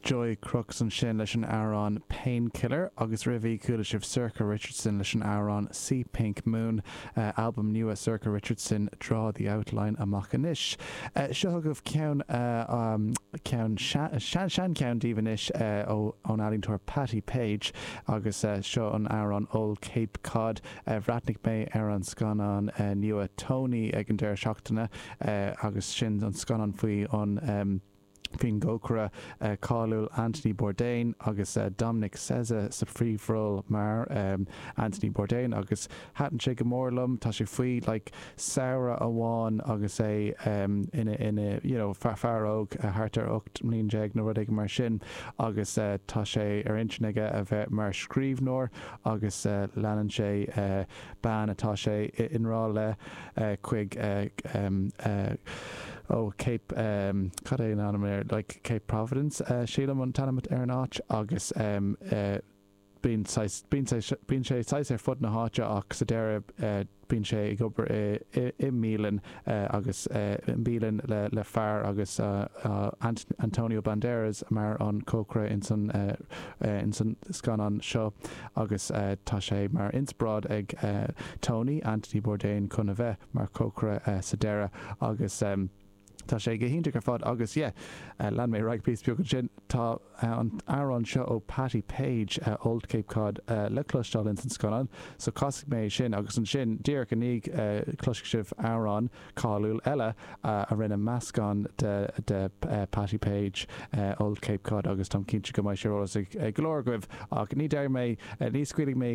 Joy Crookes ansin leis an amhrán 'Painkiller' agus roimhe chuala sibh Sorcha Richardson leis an amhrán 'Sea Pink Moon', albam nua Sorcha Richardson 'Draw the Outline' amach anois. Seo chugaibh ceann, ceann, sean-cheann daoibh anois ón ealaíontóir Patti Page agus seo an amhrán 'Old Cape Cod'. Bhreathnaigh mé ar an scannán nua Tony ag an deireadh seachtaine agus sin an scannán faoi an, faoin gcócaire cáiliúil Anthony Bourdain agus Dominic Sessa sa phríomhról mar Anthony Bourdain agus thaitin sé go mór liom. Tá sé faoi like samhradh amháin agus é ina ina you know fear óg thart ar 18 mbliain nó rud éigin mar sin agus tá sé ar intinn aige a bheith mar scríbhneoir agus leanann sé bean atá sé i ngrá le chuig ó Cape cad é an ainm air like Cape Providence sílim an t-ainm ar an áit agus bíonn saghas bíonn sé bíonn sé saghas ar fud na háite ach sa deireadh bíonn sé ag obair i i mbialann agus i mbialann le le fear agus Antonio Banderas mar an cócaire ins an ins an scannán seo agus tá sé mar inspioráid ag Tony, Anthony Bourdain, chun a bheith mar chócaire sa deireadh agus tá sé go hiontach ar fad agus yeah, lean mé ar aghaidh píosa beag ansin, tá an t-amhrán seo ó Patti Page, Old Cape Cod, le cloisteáil ins an scannán so casfaidh mé é sin agus ansin díreach i ndiaidh cloisfidh sibh amhrán cáiliúil eile a rinne meascán de Patti Page, Old Cape Cod agus táim cinnte go mbeidh sé ar eolas ag go leor agaibh ach ní déarfaidh mé, ní scaoilfidh mé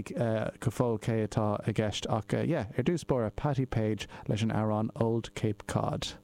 go fóill cé atá i gceist ach yeah, ar dtús báire Patti Page leis an amhrán Old Cape Cod.